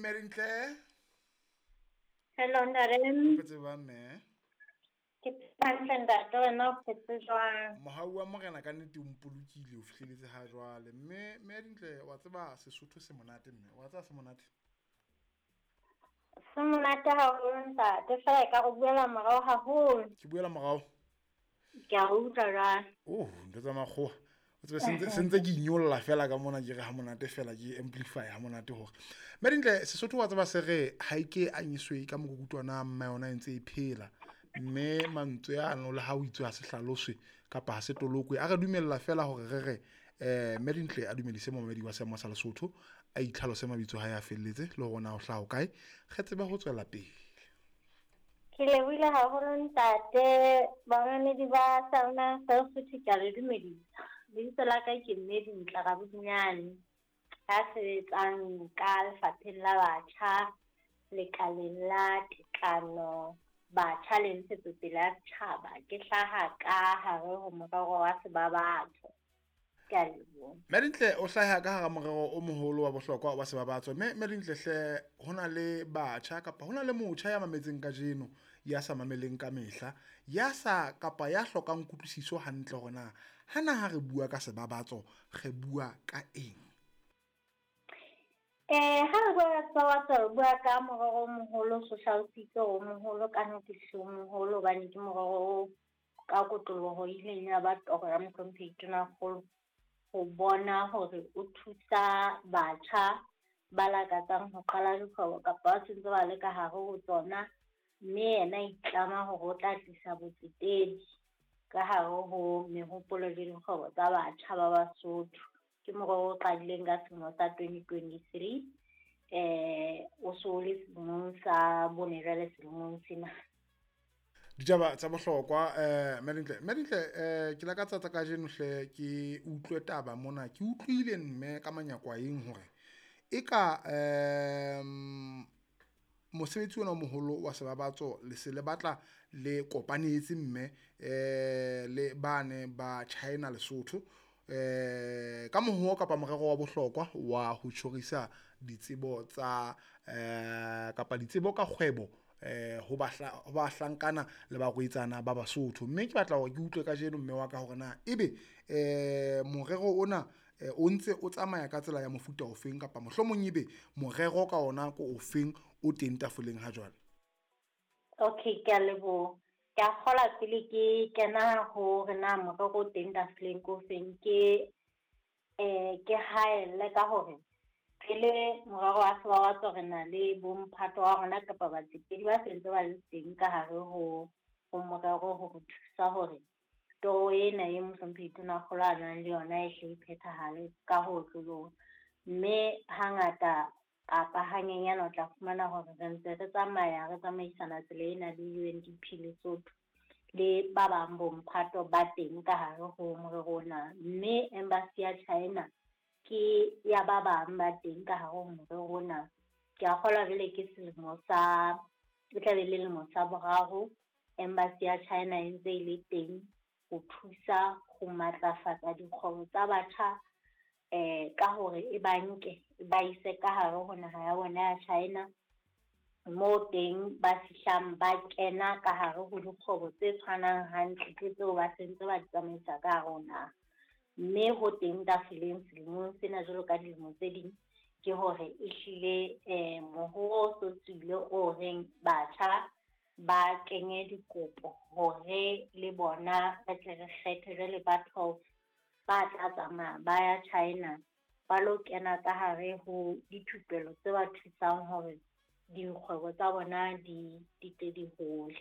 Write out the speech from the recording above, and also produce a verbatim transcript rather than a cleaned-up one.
Mmerintle. Hello ntate. Phetse ba mme. Ke hantle ntate, wena o phetse jwang? Mohau wa morena ka nnete o mpolokile o fihleletse ha jwale. Mme Mmerintle wa tseba Sesotho se monate mme, wa tseba se monate? Se monate haholo ntate, fela e ka go buela morao haholo. Ke buela morao? Ke a utlwa jwale. Oh, ntho tsa makgowa. O tsebe se ntse se ntse ke inyolla fela ka mona ke re ha monate fela ke amplify ha monate hore. Mmerintle Sesotho wa tseba se re ha ike anyiswe ka mokukutwana mma yona e ntse e phela. Mme mantswe ano le ha o itswe ha se hlaloswe kapa ha se tolokwe, a re dumella fela hore re re eh Mmerintle a dumedise momedi wa seemo sa Lesotho, a itlhalose mabitso ha ya felletse le hore na o hlaha kae, re tsebe ho tswela pele. Ke lebohile haholo ntate, bamamedi ba Salma Sesotho ke a le dumedisa. Lebitso la ka ke Mmerintle Rabodinyane, ya sebetsang ka lefapheng la batjha, lekaleng la tekano, batjha le ntshetsopele ya setjhaba. Ke hlaha ka hare ho morero wa Sebabatso. Ke a leboha. Mmerintle o hlaha ka hara morero o moholo wa bohlokwa wa Sebabatso. Mme Mmerintle hle hona le batjha kapa hona le motjha ya mametseng kajeno, ya sa mameleng ka mehla, ya sa kapa ya hlokang kutlwisiso hantle hore na hana ha re bua ka Sebabatso re bua ka eng? Eh ha re bua ka Sebabatso re bua ka morero o moholo, social sector o moholo, ka nnete o moholo, hobane ke morero o ka kotloloho ileng ya ba toro ya mohlomphehi Tonakgolo ho bona hore o thusa batjha ba lakatsang ho qala dikgwebo kapa ba sentse ba le ka hare ho tsona, mme yena a itlama hore o tla tlisa botsetedi ka hare ho mehopolo le dikgwebo tsa batjha ba Basotho. Ke morero o qadileng ka selemo sa twenty twenty-three, eh o so le selemong sa bone jwale selemong sena. Ditaba tsa bohlokwa eh Mmerintle, Mmerintle eh ke lakatsa tsa kajeno hle ke utlwe taba mona, ke utlwile mme ka manyakwaeng hore eka eh mosebetsi ona o moholo wa Sebabatso le se le batla le kopanetse mme eh le bane ba China Lesotho eh ka moho kapa morero wa bohlokwa wa ho tjhorisa ditsebo tsa eh kapa ditsebo ka kgwebo eh ho ba hlankana le barwetsana ba Basotho. Mme ke batla hore ke utlwe kajeno mme wa ka hore na ebe eh morero ona o ntse o tsamaya ka tsela ya mofuta ofeng kapa mohlomong ebe morero ka ona ko ofeng o teng tafoleng ha jwale. Okay, ke a leboha. Ke a kgola pele ke kena hore na morero o teng tafoleng ko ofeng, ke eh ke haelle ka hore pele morero wa Sebabatso re na le bomphato wa rona kapa batsetedi ba sentse ba le teng ka hare ho ho morero ho re thusa hore toro ena e mohlomphehi Tonakgolo a nang le yona e hle e phethahale ka ho otloloha. Mme hangata kapa hanyenyane o tla fumana hore re ntse re tsamaya re tsamaisana tsela ena le U N D P Lesotho le ba bang bomphato ba teng ka hare ho morero ona. Mme embassy ya China ke ya ba bang ba teng ka hare ho morero ona. Ke a kgolwa jwale ke selemo sa, e tla be le lemo sa boraro embassy ya China e ntse e le teng ho thusa ho matlafatsa dikgwebo tsa batjha eh ka hore e ba nke e ba ise ka hare ho naha ya bona ya China, moo teng ba fihlang ba kena ka hare ho dikgwebo tse tshwanang hantle ke tseo ba sentse ba di tsamaisa ka hare ho naha. Mme ho teng tafoleng selemong sena jwalo ka dilemo tse ding ke hore ehlile eh mohoo o so tswile o reng batjha ba kenye dikopo hore le bona re tle re kgethe jwale ba twelve ba tla tsamaya ba ya China ba lo kena ka hare ho dithupelo tse ba thusang hore dikgwebo tsa bona di di tle di hole.